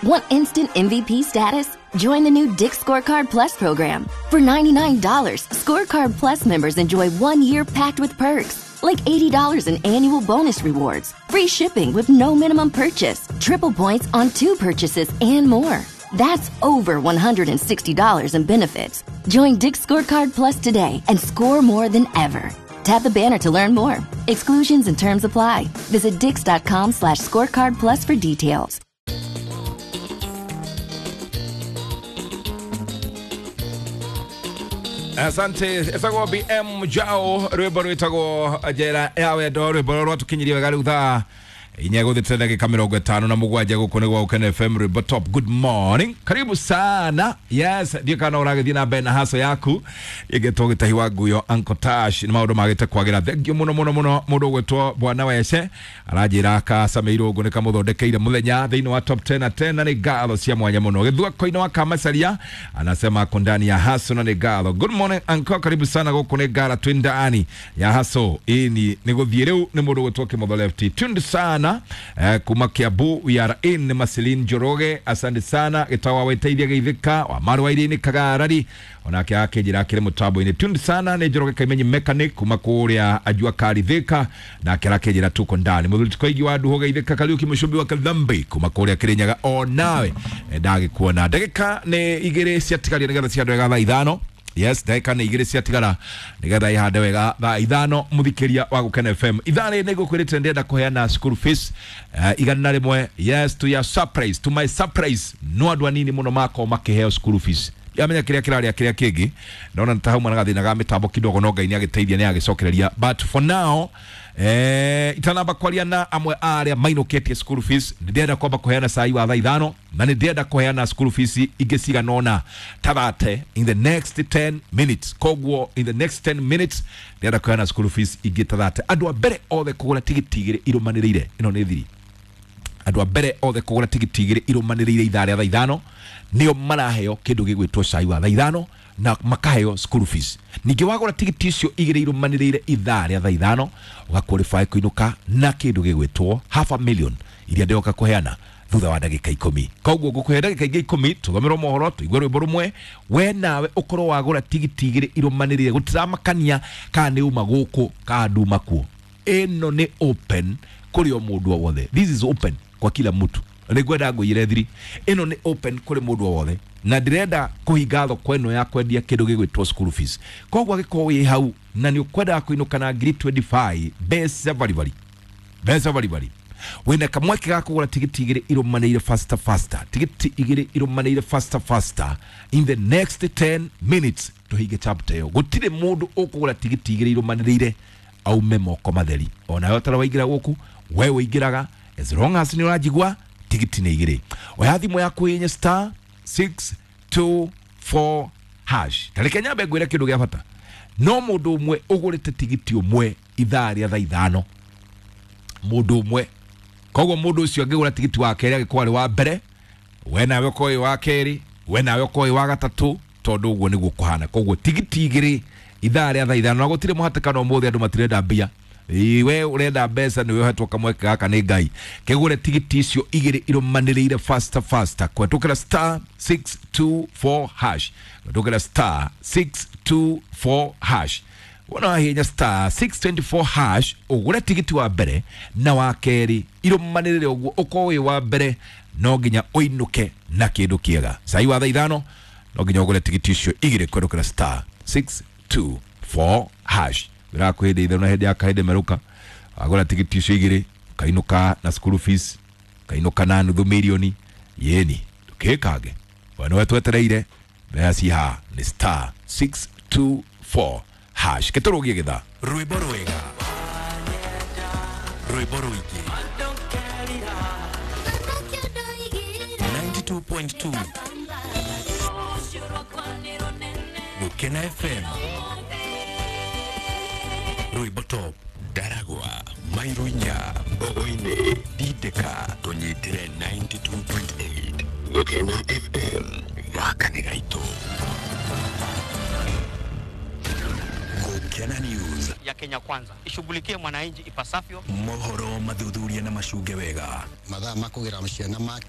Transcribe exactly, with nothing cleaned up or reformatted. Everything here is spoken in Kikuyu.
Want instant M V P status? Join the new Dick's Scorecard Plus program. For ninety-nine dollars, Scorecard Plus members enjoy one year packed with perks, like eighty dollars in annual bonus rewards, free shipping with no minimum purchase, triple points on two purchases, and more. That's over one hundred sixty dollars in benefits. Join Dick's Scorecard Plus today and score more than ever. Tap the banner to learn more. Exclusions and terms apply. Visit dicks.com slash scorecard plus for details. Asante etagwo B M Jao rwimbo rwitagwo njera ya wendo rwimbo rwatukinyirie wega riu thaa inya guthite ndagika mirongo itano na mugwanja guku ni gwa Ukene F M rwimbo top. Good morning, karibu sana. Yes, ndiå kana ũragĩthiĩ na mbere na haso yaku ĩngĩtwo gĩtahi wa nguyo Uncle Tash nĩ maũndũ magĩte kwagĩra. Thengiũ mũno mũno mũno mũndũ ũgwĩtwo Bwana Wece aranjĩra kacameirwo ũguo nĩ kamũthondekeire mũthenya thĩinĩ wa top ten na ten na nĩ ngatho cia mwanya mũno. Gĩthwako-inĩ wa Kamacaria anasema ako ndani ya haso na nĩ ngatho. Good morning uncle, karibu sana gũkũ nĩ ngara twĩ ndani ya haso ĩni nĩ gũthiĩ rĩu nĩ mũndũ ũgwĩtwo Kĩmotho Lefty tuned sana Eh, kuma Kiambu we are in Maselin Njoroge, asante sana gitawa weteithia geithika wa marwa iri ni kagarari onake akinjira akire mutambo-ini tuned sana ni Njoroge Kaimenyi mechanic kuma kuria ajua kari thika nake arakinjira tuko ndani muthuri tukoigi wa nduho geithika Kariuki Mucumbi wa Kathambi kuma kuria Kirinyaga onawe ndagikuona ndagika ni igiri ciatigaria nigetha ciandũ wega thaa ithano. Yes, ndagika nĩ igĩrĩ ciatigara nĩgetha ihande wega thaa ithano mũthikĩria wa Gũkena F M. Ithaa rĩrĩ nĩngũkwĩrĩte ndĩrenda kũheana school fees uh, igana rĩmwe. Yes, to your surprise, to my surprise, no andũ anini mũno makorwo makĩheo school fees. Ndiramenya kĩrĩa kĩrarĩa kĩrĩa kĩngĩ ndona nĩ ta hauma na gathĩna ga mĩtambo kidogo no Ngai nĩagĩteithia nĩagĩcokereria, but for now eh itanamba kwaria na amwe aria mainũkĩtie school fees ndĩrenda kwamba kũheana cai wa thaa ithano na nĩ ndĩrenda kũheana school fees ingĩ cigana ũna tathate in the next ten minutes. Koguo in the next ten minutes ndĩrenda kũheana school fees ingĩ tathate andũ a mbere othe kũgũra tigiti igĩrĩ irũmanĩrĩire ĩno nĩ thiri andũ a mbere othe kũgũra tigiti igĩrĩ irũmanĩrĩire ithaa rĩa thaa ithano nĩo maraheo kĩndũ gĩgwĩtwo cai wa thaa ithano na makaheo school fees. Ningĩ wagũra tigiti icio igĩrĩ irũmanĩrĩire ithaa rĩa thaa ithano ũgaqualify kũinũka na kĩndũ gĩgwĩtwo half a million iria ndĩroka kũheana thutha wa ndagĩka ikũmi. Koguo ngũkũhe ndagĩka ingĩ ikũmi tũthomerwo mohoro tũigue rwĩmbo rũmwe we nawe ũkorwo wagũra tigiti igĩrĩ irũmanĩrĩire gũtiramakania kana nĩ uma gũkũ kana nduma kuo. Ĩno nĩ open kũrĩ o mũndũ o wothe. This is open kwa kila mtu. Nĩngwenda ngũiyĩre thiri ĩno nĩ open kũrĩ mũndũ o wothe na ndĩrenda kũhinga thoko ĩno ya kwendia kĩndũ gĩgwĩtwo school fees. Koguo angĩkorwo wĩ hau na nĩ ũkwendaga kũinũka na ngiri twenty-five mbeca baribari mbeca baribari wĩna kamweke ga kũgũra tigiti igĩrĩ irũmanĩire faster faster tigiti igĩrĩ irũmanĩire faster faster in the next ten minutes tũhinge chapter ĩyo. Gũtirĩ mũndũ ũkũgũra tigiti igĩrĩ irũmanĩrĩire aume moko matheri. Onawe ũtara waingĩra gũkũ we ũingĩraga as long as nĩ ũranjigua tigiti nĩ igĩrĩ. Oya thimũ yaku yenye star six two four hash. Tareke nyambe ngwĩre kĩndũ gĩa bata. No mũndũ ũmwe ũgũrĩte tigiti ũmwe ithaa rĩa thaa ithano mũndũ ũmwe. Koguo mũndũ ũcio angĩgũra tigiti wa kerĩ angĩkorwo arĩ wa mbere we nawe ũkorwo wĩ wa kerĩ we nawe ũkorwo wĩ wa gatatũ tondũ ũguo nĩguo kũhana. Koguo tigiti igĩrĩ ithaa rĩa thaa ithano na gũtirĩ mũhatĩkano ũmũthĩ andũ matirenda mbia. We urenda mbeca nĩwe ũhetwo kamweke gaka nĩ Ngai kĩgũre tigiti icio igĩrĩ irũmanĩrĩire faster faster kũhetũkĩra star six two four hash kũhetũkĩra star six two four hash wona wahihinya star six two four hash ũgũre tigiti wa mbere na wa kerĩ irũmanĩrĩre ũguo ũkorwo wĩ wa mbere no nginya ũinũke na kĩndũ kĩega. Cai wa thaa ithano no nginya ũgũre tigiti icio igĩrĩ kũhetũkĩra star six two four hash wĩra kwĩhĩndĩ itherũ na hĩndĩ ya kahĩndĩ merũka wagũra tigiti icio igĩrĩ ũkainũka na school fees ũkainũka na nuthu mirioni yeni ndũkĩkange we nĩwe twetereire mbeca ci haha nĩ star six two four hash gĩtũrũgie gĩthaa rwĩmbo rwega rwĩmbo rũingĩ ninety-two point two Gũkena F M Rwĩmbo top Ndaragwa Mairuinya Mbogoini Dideka tũnyitĩre ninety-two point eight Gũkena F M gaka nĩ gaitũ. Gũkena News ya Kenya Kwanza ishughulikie mwananchi ipasavyo. Mohoro mathuthuria na macunge wega mathaa ma kũgĩra ciana maki